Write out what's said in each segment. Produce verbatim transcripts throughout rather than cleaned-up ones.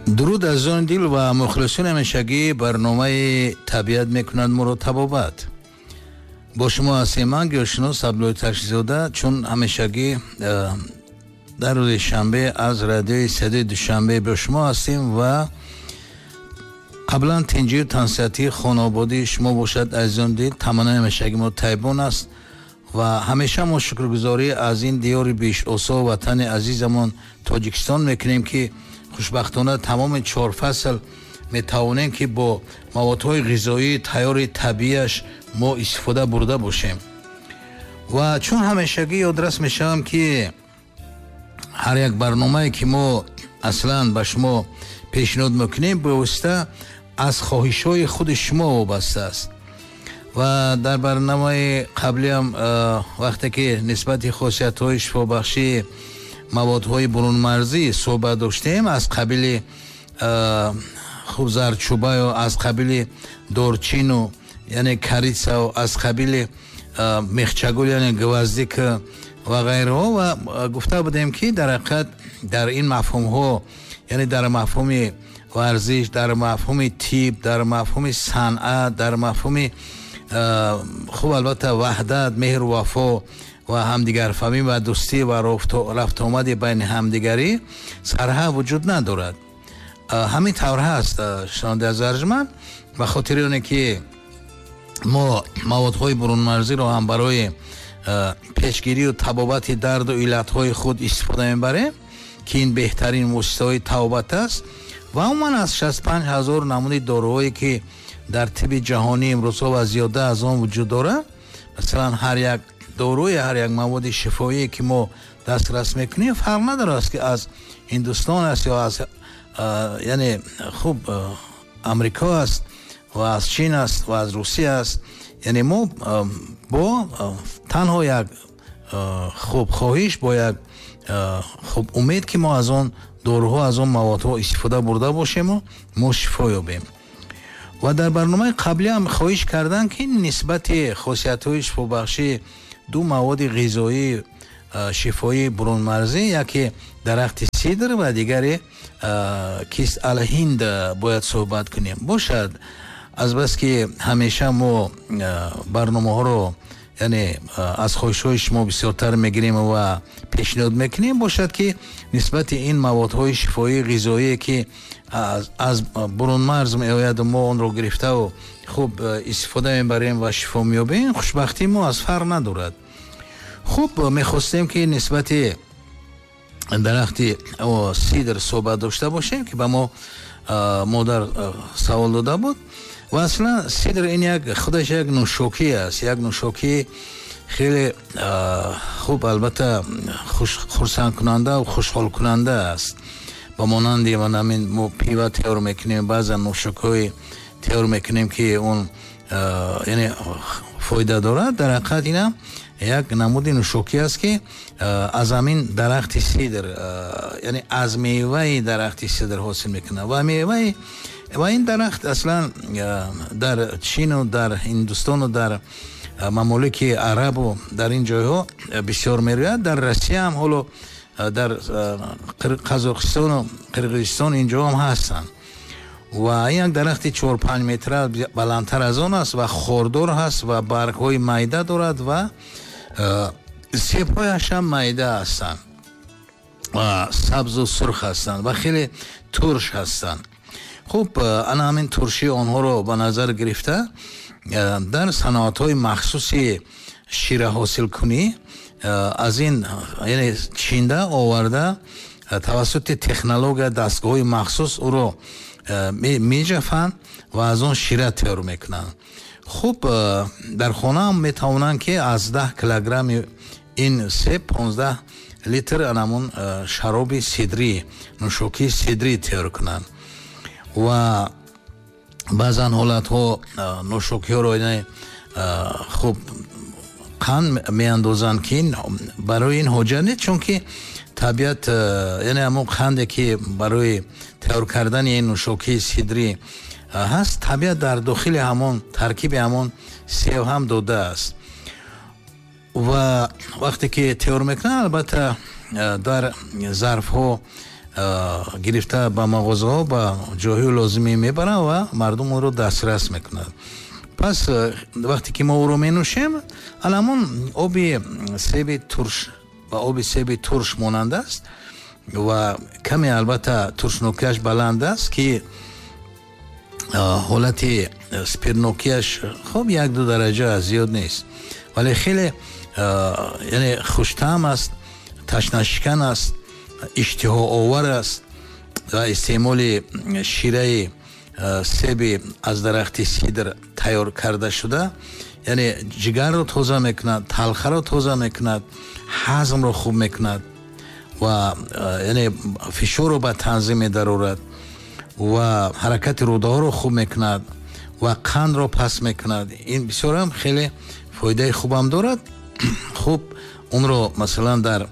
Дуруд, азизони дил ва мухлисони ҳамешагии барномаи «Табиат мекунад моро табобат». Бо шумо ҳастем ман, гиёҳшинос Абдуллои Ташризода. Чун ҳамешагӣ дар рӯзи шанбе аз радиои Садои Душанбе бо шумо ҳастем ва қаблан тинҷию тансиҳатии хонободии шумо бошад, азизони дил. Таманнои ҳамешагии мо тайбон аст ва ҳамеша мо шукргузорӣ аз ин диёри биҳиштосо, ватани азизамон Тоҷикистон мекунем, ки хушбахтона тамоми чор фасл метавонем, ки бо маводҳои ғизоии тайёри табиияш мо истифода бурда бошем. Ва чун ҳамешагӣ ёдрас мешавам, ки ҳар як барномае, ки мо аслан ба шумо пешниҳод мекунем, бевосита аз хоҳишҳои худи шумо вобаста аст. Ва дар барномаи қаблиам вақте ки нисбати хосиятҳои шифобахшии маводҳои бурунмарзӣ суҳбат доштем, аз қабили хуб зарчӯбаю, аз қабили дорчину, яъне корицау, аз қабили мехчагул, яъне гвоздика ва ғайраҳо, ва гуфта будем, ки дар ҳақиқат дар ин мафҳумҳо, яъне дар мафҳуми варзиш, дар мафҳуми тиб, дар мафҳуми санъат, дар мафҳуми хуб албатта ваҳдат, меҳру вафо ва ҳамдигарфаҳмӣ ва дӯстӣ ва рафтуомади байни ҳамдигарӣ сарҳа вуҷуд надорад. Ҳамин тавр ҳаст, шунавандаи азиз арҷманд. Ба хотири оне ки мо маводҳои бурунмарзиро ҳам барои пешгирию табобати дарду иллатҳои худ истифода мебарем, ки ин беҳтарин воситаҳои табобат аст, ва умуман аз шасту панҷ ҳазор намуди доруҳое, ки дар тибби ҷаҳонӣ имрӯзҳо ва зиёда аз он вуҷуд дорад, масалан, ҳар як доруи, ҳар як маводи шифоие, ки мо дастрас мекунем, фарқ надорад, ки аз Ҳиндустон аст ё аз, яъне хуб, Амрико аст ва аз Чин аст ва аз Русия аст. Яъне мо бо танҳо як хуб хоҳиш, бо як хуб умед, ки мо аз он доруҳо, аз он маводҳо истифода бурда бошему мо шифо ёбем. Ва дар барномаи қаблӣ ҳам хоҳиш карданд, ки нисбати хосиятҳои шифобахшии ду маводи ғизоии шифоии бурунмарзӣ, яке дарахти сидр ва дигаре кист алҳинд, бояд суҳбат кунем. Бошад, азбаски ҳамеша мо барномаҳоро, яъне аз хоҳишҳои шумо бисёртар мегирем ва пешниҳод мекунем, бошад, ки нисбати ин маводҳои шифоии ғизоие, ки аз бурунмарз меояду мо онро гирифтаву хуб истифода мебарем ва шифо меёбем, хушбахтии мо аз фарқ надорад. Хуб, мехостем, ки нисбати дарахти сидр суҳбат дошта бошем, ки ба мо модар савол дода буд. Ва аслан сидр ин як худаш як нӯшокӣ аст, як нӯшокии хеле хуб, албатта хурсандкунанда ва хушҳолкунанда аст. Ба монанди ҳамин мо пива тайёр мекунем, баъзан нӯшокиҳои тайёр мекунем, ки он, яъне, фоида дорад. Дар ҳақиқат инам як намуди нӯшокӣ аст, ки аз ҳамин дарахти сидр, яъне аз меваи дарахти сидр ҳосил мекунад. Ва меваи ва ин дарахт аслан дар Чину дар Ҳиндустону дар мамолики Арабу дар ин ҷойҳо бисёр мерӯяд. Дар Россия ҳам, ҳоло дар Қазоқистону Қирғизистон, ин ҷо ҳам ҳастанд. Ва ин як дарахти чор панҷ метра баландтар аз он аст ва хордор ҳаст ва баргҳои майда дорад ва себҳояш ҳам майда ҳастанд ва сабзу сурх ҳастанд ва хеле турш ҳастанд. Хуб, ана ҳамин туршии онҳоро ба назар гирифта, дар саноатҳои махсуси шираҳосилкунӣ аз ин, яъне, чинда оварда, тавассути технология, дастгоҳҳои махсус ӯро меҷафанд ва аз он шира тайёр мекунанд. Хуб, дар хонаам метавонанд, ки аз даҳ килограмми ин себ понздаҳ литр анамун шароби сидрӣ, нӯшокии сидрӣ тайёр кунанд. Ва баъзан ҳолатҳо нӯшокиҳоро, хуб, қанд меандозанд, ки барои ин ҳоҷат нест, чунки табиат, яъне ҳамон қанде, ки барои тайёр кардани ин нӯшокии сидрӣ ҳаст, табиат дар дохили ҳамон таркиби ҳамон сев ҳам додааст. Ва вақте ки тайёр мекунанд, албатта, дар зарфҳо гирифта ба мағозаҳо, ба ҷойҳои лозимӣ мебаранд ва мардум онро дастрас мекунад. Пас вақте ки мо ӯро менӯшем, ҳамон оби себи турш ба оби себи турш монанд аст ва каме албатта туршнокиаш баланд аст, ки ҳолати спиртнокиаш хуб як ду дараҷа зиёд нест, вале хеле яъне хуштаъм аст, ташнашикан аст, иштиҳоовар аст ва истеъмоли шираи себи аз дарахти сидр тайёр карда шуда яъне ҷигарро тоза мекунад, талхаро тоза мекунад, ҳазмро хуб мекунад ва яъне фишорро ба танзим медарорад ва ҳаракати рӯдаҳоро хуб мекунад ва қандро пас мекунад. Ин бисёрам хеле фоидаи хубам дорад. Хуб онро масалан дар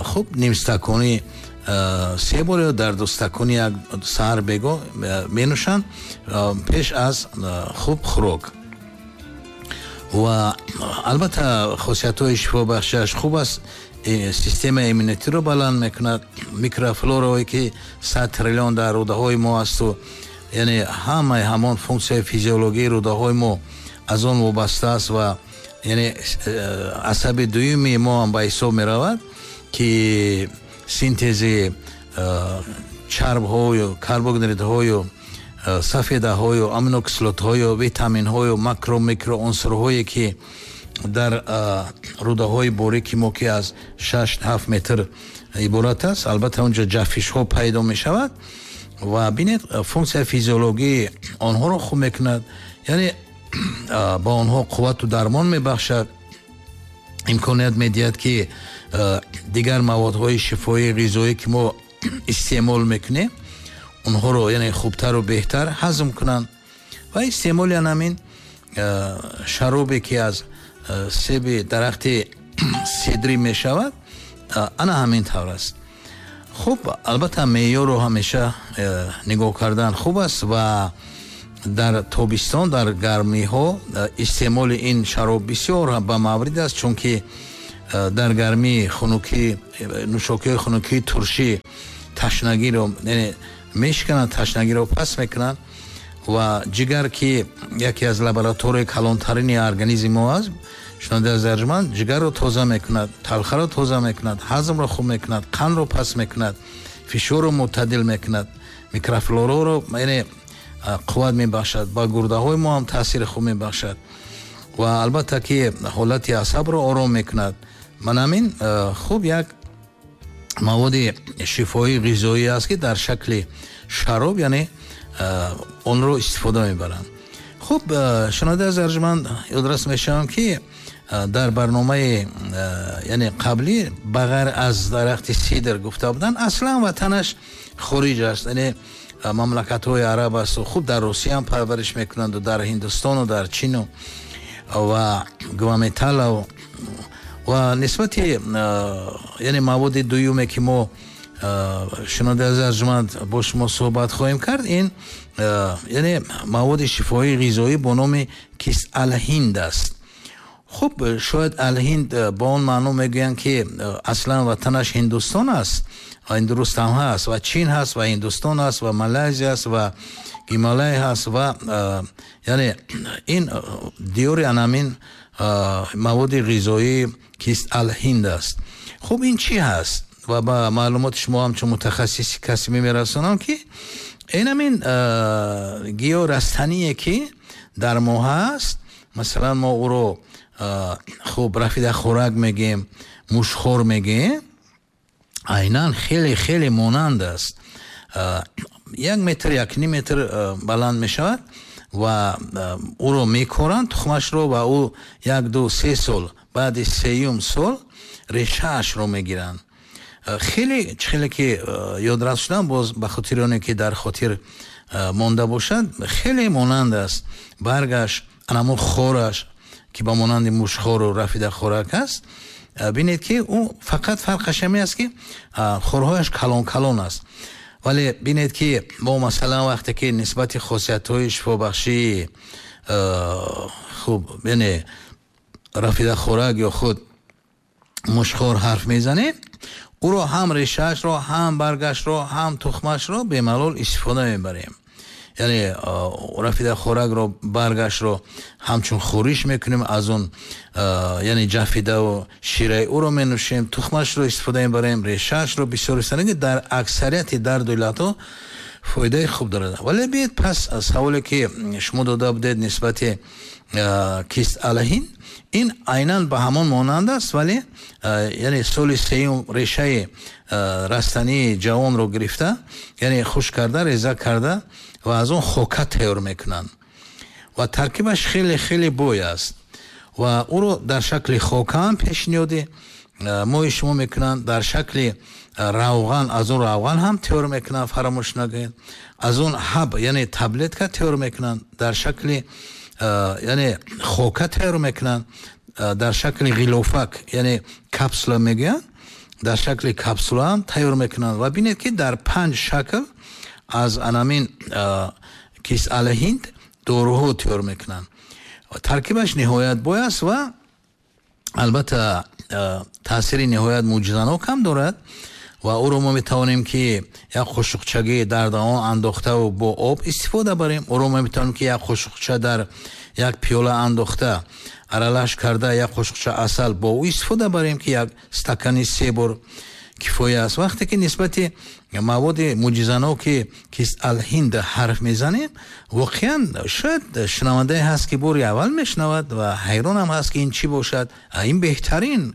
хуб нимстаконӣ се бор ё дар ду стакони як саҳар бего менӯшанд пеш аз хуб хӯрок. Ва албатта хосиятҳои шифобахшиаш хуб аст, системаи иммунитетиро баланд мекунад, микрофлораое ки сад триллион дар рӯдаҳои мо асту яъне ҳамаи ҳамон функсияи физиологии рӯдаҳои мо аз он вобаста аст ва яъне асаби дуюми мо ҳам ба ҳисоб меравад, ки синтези чарбҳою карбогидратҳою сафедаҳою аминокислотҳою витаминҳою макро микроунсурҳое ки дар рӯдаҳои борики мо, ки аз шаш ҳафт метр иборат аст, албатта онҷо ҷафишҳо пайдо мешавад ва бинед функсияи физиологии онҳоро хуб мекунад, яъне ба онҳо қуввату дармон мебахшад, имконият медиҳад, ки дигар маводҳои шифоии ғизоӣ, ки мо истеъмол мекунем, онҳоро яъне хубтару беҳтар ҳазм кунанд. Ва истеъмоли ҳамин шаробе, ки аз себи дарахти сидрӣ мешавад, ана ҳамин тавр аст. Хуб, албатта меъёрро ҳамеша нигоҳ кардан хуб аст ва дар тобистон, дар гармиҳо истеъмоли ин шароб бисёр ба маврид аст, чунки дар гармӣ хунукӣ, нӯшокиҳои хунукии туршӣ ташнагиро яъне мешикананд, ташнагиро пас мекунанд ва ҷигар, ки яке аз лабораторияи калонтарини организми мо аст, шунавандаи азиз арҷманд, ҷигарро тоза мекунад, талхаро тоза мекунад, ҳазмро хуб мекунад, қандро пас мекунад, фишорро мӯътадил мекунад, микрофлораро яъне қувват мебахшад, ба гурдаҳои мо ҳам таъсири хуб мебахшад ва албатта ки ҳолати асабро ором мекунад. Ман ҳамин хуб як маводи шифоии ғизоӣ аст, ки дар шакли шароб яъне онро истифода мебаранд. Хуб, шунавандаи азиз арҷманд, ёдрас мешавам, ки дар барномаи яъне қаблӣ ба ғайр аз дарахти сидр гуфта буданд, аслан ватанаш хориҷ аст, яъне мамлакатҳои араб аст. Хуб дар Русия ҳам парвариш мекунанд, дар Ҳиндустону дар Чину ва Гваметала. Ва нисбати яъне маводи дуюме, ки мо, шунавандаи азиз арҷманд, бо шумо суҳбат хоҳем кард, ин яъне маводи шифоии ғизоӣ бо номи кист алҳинд аст. Хуб, шояд алҳинд ба он маъно мегӯянд, ки аслан ватанаш Ҳиндустон аст ва ин дуруст ҳам ҳаст, ва Чин ҳаст, ва Ҳиндустон аст, ва Малайзия аст, ва Гималай ҳаст ва яъне ин диёри анамин маводи ғизоӣ кист алҳинд аст. Хуб, ин чӣ ҳаст? Ва ба маълумоти шумо ҳамчун мутахассиси касбӣ мерасонам, ки ин ҳамин гиёҳ растание, ки дар мо ҳаст, масалан мо ӯро хуб рафидахӯрак мегӯем, мушхор мегӯем, айнан хеле хеле монанд аст. Як метр, як ним метр баланд мешавад ва ӯро мекоранд тухмашро ва ӯ як ду се сол, баъди сеюм сол решаашро мегиранд. Хеле хеле ки ёдрас шудам, боз ба хотири оне ки дар хотир монда бошад, хеле монанд аст баргаш, анамун хораш, ки ба монанди мушхору рафидахӯрак аст. Бинед, ки ӯ фақат фарқаш ҳамин аст, ки хорҳояш калон калон аст. Вале бинед, ки мо масалан вақте ки нисбати хосиятҳои шифобахшии хуб яъне рафидахӯрак ё худ мушхор ҳарф мезанем, Ӯро ҳам решаашро, ҳам баргашро, ҳам тухмашро бемалол истифода мебарем. Яъне рафидахӯракро, баргашро ҳамчун хӯриш мекунем, аз он яъне ҷафидаву шираи ӯро менӯшем, тухмашро истифода мебарем, решаашро бисёр истифода, дар аксарияти дарду иллатҳо фоидаи хуб дорад. Вале биед пас саволе ки шумо дода будед нисбати кист алҳинд, ин айнан ба ҳамон монанд аст, вале яъне соли сеюм решаи растании ҷавонро гирифта, яъне хушк карда, реза карда ва аз он хока тайёр мекунанд ва таркибаш хеле хеле бой аст ва ӯро дар шакли хока ҳам пешниҳоди мои шумо мекунанд, дар шакли равған, аз он равған ҳам тайёр мекунанд, фаромӯш накунед, аз он ҳаб яъне таблетка тайёр мекунанд, дар шакли яъне хока тайёр мекунанд, дар шакли ғилофак яъне капсула мегӯянд, дар шакли капсула ҳам тайёр мекунанд. Ва бинед ки дар панҷ шакл аз анамин кист алҳинд доруҳо тайёр мекунанд. Таркибаш ниҳоят бой аст ва албатта таъсири ниҳоят мӯъҷизанок ҳам дорад ва ӯро мо метавонем ки як қошуқчагӣ дар даҳон андохтаву бо об истифода барем. Ӯро мо метавонем ки як қошуқча дар як пиёла андохта аралаш карда як қошуқча асал бо ӯ истифода барем, ки як стакани се бор кифоя аст. Вақте ки нисбати маводи мӯъҷизаноки кист алҳинд ҳарф мезанем, воқеан шояд шунавандае ҳаст ки бори аввал мешунавад ва ҳайронам ҳаст ки ин чӣ бошад. Ин беҳтарин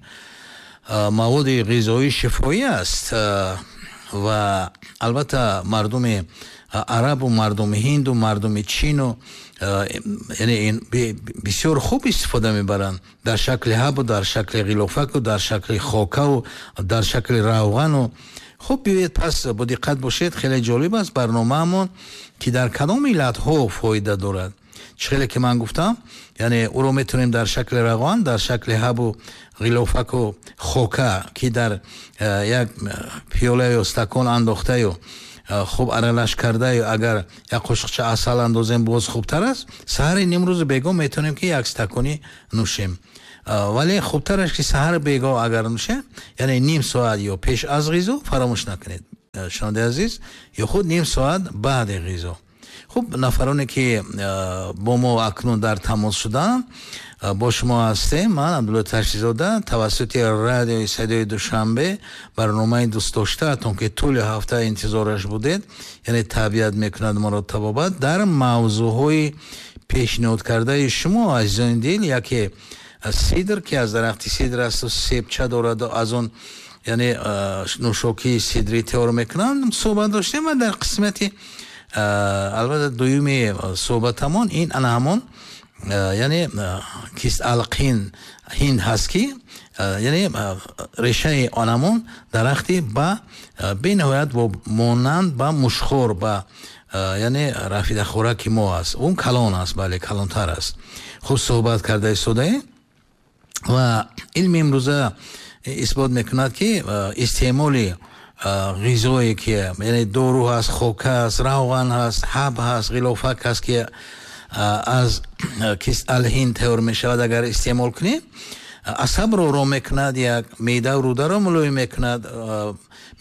маводи ғизоии шифоӣ аст ва албатта мардуми арабу мардуми ҳинду мардуми чину яъне ин бисёр хуб истифода мебаранд дар шакли ҳабу, дар шакли ғилофаку, дар шакли хокаву, дар шакли равғану. Хуб, биёед пас бо диққат бошед, хеле ҷолиб аст барномаамон ки дар кадом иллатҳо фоида дорад. Чӣ хеле ки ман гуфтам, яъне ӯро метавонем дар шакли равған, дар шакли ҳабу ғилофаку хока ки дар як пиёла ё стакон андохтаю хуб аралаш кардаю агар як қошуқча асал андозем боз хубтар аст. Саҳари нимрӯзу бегоҳ метавонем ки як стакони нӯшем, вале хубтараш ки саҳар бегоҳ агар нӯшем, яъне ним соат ё пеш аз ғизо, фаромӯш накунед шунавандаи азиз, ё худ ним соат баъди ғизо. Хуб, нафароне ки бо мо акнун дар тамос шуданд, бо шумо ҳастем ман Абдулло Ташризода тавассути радиои Садои Душанбе, барномаи дӯстдоштаатон ки тӯли ҳафта интизораш будед, яъне табиат мекунад моро табобат, дар мавзӯъҳои пешниҳод кардаи шумо азизони дил, яке сидр ки аз дарахти сидр асту себча дорад, аз он яъне нӯшокии сидрӣ тайёр мекунанд, суҳбат доштем ва дар қисмати албатта дуюми суҳбатамон ин ана ҳамон яъне кист алқин ҳинд ҳаст ки яъне решаи он дарахти ба бениҳоят монанд ба мушхор, ба яъне рафидахӯраки мо аст. Он калон аст, бале, калонтар аст. Хуб суҳбат карда истодаем ва илми имрӯза исбот мекунад ки истеъмоли ғизое ки яъне дору ҳаст, хока ҳаст, равған ҳаст, ҳаб ҳаст, ғилофак ҳаст ки аз кист алҳинд тайёр мешавад, агар истеъмол кунем асабро ором мекунад, як меъдаву рӯдаро мулоим мекунад,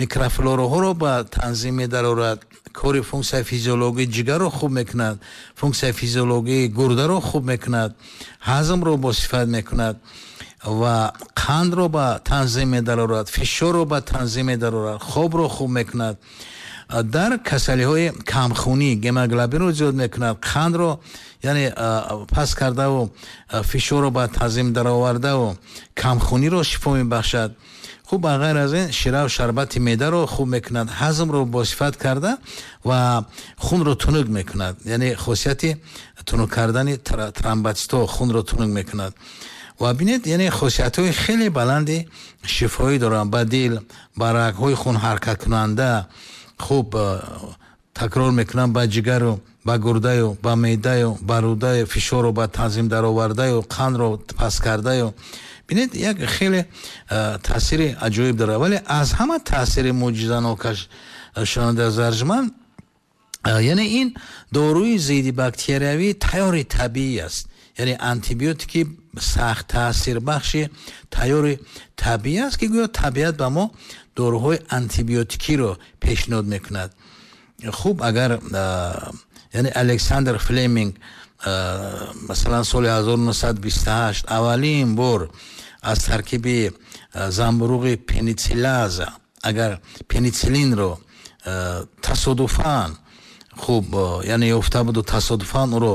микрофлораҳоро ба танзим медарорад, кори функсияи физиологии ҷигарро хуб мекунад, функсияи физиологии гурдаро хуб мекунад, ҳазмро босифат мекунад ва қандро ба танзим медарорад, фишорро ба танзим медарорад, хобро хуб мекунад, дар касалиҳои камхунӣ гемоглобинро зиёд мекунад, қандро яъне паст кардаву фишорро ба танзим даровардаву камхуниро шифо мебахшад. Хуб, ба ғайр аз ин шираву шарбати меъдаро хуб мекунад, ҳазмро босифат карда ва хунро тунук мекунад, яъне хосияти тунук кардани тромботситҳо хунро тунук мекунад. Ва бинед, яъне хосиятҳои хеле баланди шифоӣ доранд ба дил, ба рагҳои хун ҳаракаткунанда, хуб такрор мекунам, ба ҷигару, ба гурдаю, ба меъдаю, ба рӯдаю, фишорро ба танзим даровардаю, қандро паст кардаю. Бинед, як хеле таъсири аҷоиб дорад, вале аз ҳама таъсири мӯъҷизанокаш шунаванда зарҷманд, яъне ин доруи зидди бактериявии тайёри табиӣ аст, яъне антибиотики сахт таъсирбахши тайёри табиӣ аст ки гӯё табиат ба мо доруҳои антибиотикиро пешниҳод мекунад. Хуб, агар яъне Александр Флеминг масалан соли ҳазору нӯҳсаду бисту ҳашт аввалин бор аз таркиби замбуруғи пенициллаза агар пенициллинро тасодуфан хуб яъне ёфта буду тасодуфан ӯро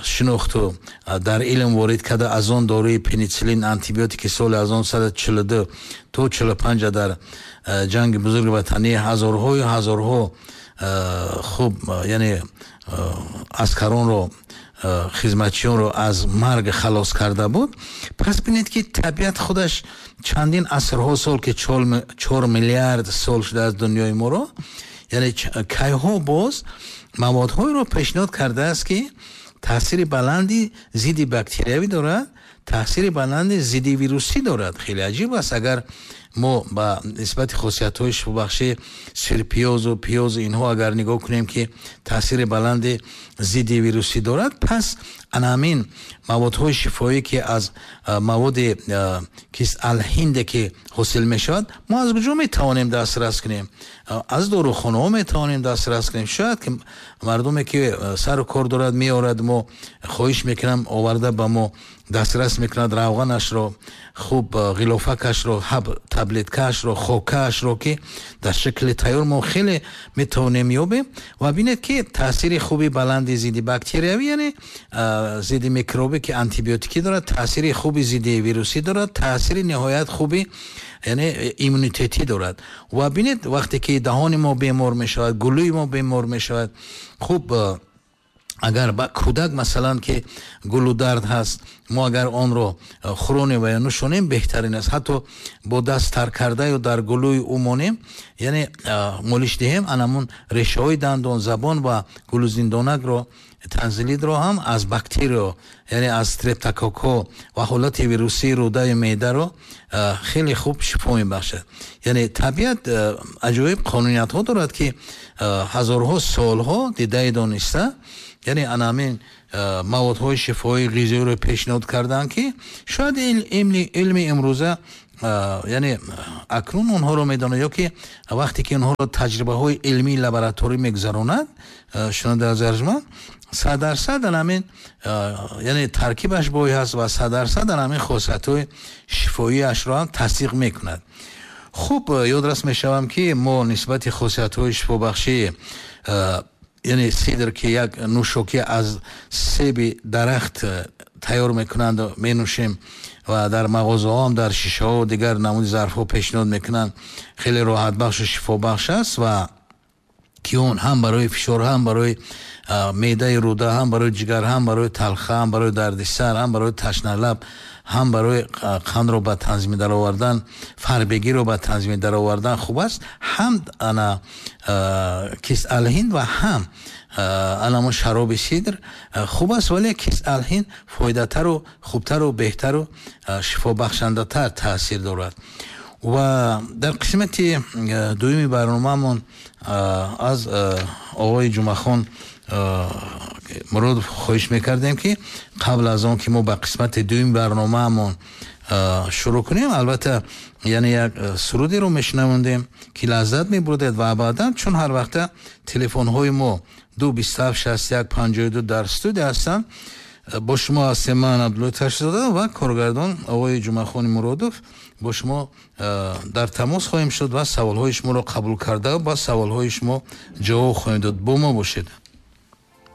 шинохту дар илм ворид карда, аз он доруи пенициллин антибиотики соли ҳазору нӯҳсаду чилу ду то чилу панҷ дар ҷанги бузурги ватанӣ ҳазорҳою ҳазорҳо хуб яъне аскаронро хизматчиёнро аз марг халос карда буд. Пас бинед ки табиат худаш чандин асрҳо сол ки чор миллиард сол шудааст дунёи моро, яъне кайҳо боз маводҳоеро пешниҳод кардааст ки таъсири баланди зидди бактериявӣ дорад, таъсири баланди зидди вирусӣ дорад. Хеле аҷиб аст агар мо ба нисбати хосиятҳои шифобахши сирпиёзу пиёзу инҳо агар нигоҳ кунем ки таъсири баланди зидди вирусӣ дорад, пас ана ҳамин маводҳои шифоӣ ки аз маводи кисалҳинде ки ҳосил мешавад, мо аз куҷо метавонем дастрас кунем? Аз дорухонаҳо метавонем дастрас кунем. Шояд ки мардуме ки сару кор дорад меорад, мо хоҳиш мекунам оварда ба мо дастрас мекунад равғанашро, хуб ғилофакашро, ҳаб таблеткаашро, хокаашро ки дар шакли тайёр мо хеле метавонем ёбем. Ва бинед ки таъсири хуби баланди зидди бактериявӣ, яъне зидди микробӣ ки антибиотикӣ дорад, таъсири хуби зидди вирусӣ дорад, таъсири ниҳоят хуби яъне иммунитетӣ дорад. Ва бинед вақте ки даҳони мо бемор мешавад, гулӯи мо бемор мешавад, хуб агар ба кӯдак масалан ки гулудард ҳаст, мо агар онро хӯронем ва ё нӯшонем беҳтарин аст. Ҳатто бо даст тар карда ё дар гулӯи ӯ монем, яъне молиш диҳем, анамун решаҳои дандон, забон ва гулӯзиндонакро, танзилидро ҳам аз бактерио, яъне аз стрептококко ва ҳолати вирусии рӯдаи меъдаро хеле хуб шифо мебахшад. Яъне табиат аҷоиб қонуниятҳо дорад ки ҳазорҳо солҳо дидаи дониста, яъне ана ҳамин маводҳои шифоии ғизоиро пешниҳод карданд ки шояд илми имрӯза яъне акнун онҳоро медонад, ё ки вақте ки онҳоро таҷрибаҳои илмии лабораторӣ мегузаронад, шунавандаи азиз, сад дарсад ана ҳамин яъне таркибаш бой ҳаст ва сад дарсад ана ҳамин хосиятҳои шифоиашро ҳам тасдиқ мекунад. Хуб, ёдрас мешавам ки мо нисбати хосиятҳои шифобахшии яъне сидр ки як нӯшокӣ аз себи дарахт тайёр мекунанд, менӯшем ва дар мағозаҳо ҳам дар шишаҳо дигар намуди зарфҳо пешниҳод мекунанд, хеле роҳатбахшу шифобахш аст ва ки он ҳам барои фишор, ҳам барои меъдаи рӯда, ҳам барои ҷигар, ҳам барои талха, ҳам барои дарди сар, ҳам барои ташналаб, ҳам барои қандро ба танзими даровардан, фарбегиро ба танзими даровардан хуб аст. Ҳам ана кисалҳинд ва ҳам анамо шароби сидр хуб аст, вале кисалҳинд фоидатару хубтару беҳтару шифобахшандатар таъсир дорад. Ва дар қисмати дуюми барномаамон аз оғои Ҷумъахон Муродов хоҳиш мекардем ки қабл аз он ки мо ба қисмати дуюми барномаамон шурӯъ кунем, албатта яъне як сурудеро мешунавондем ки лаззат мебурдед ва баъдан чун ҳар вақта телефонҳои мо ду бисту ҳафт шасту як панҷоҳу ду дар студия ҳастанд, бо шумо ҳастем ман Абдуллои Ташзода ва коргардон оғои Ҷумъахони Муродов. Бо шумо дар тамос хоҳем шуд ва саволҳои шуморо қабул карда ба саволҳои шумо ҷавоб хоҳем дод. Бо мо бошед.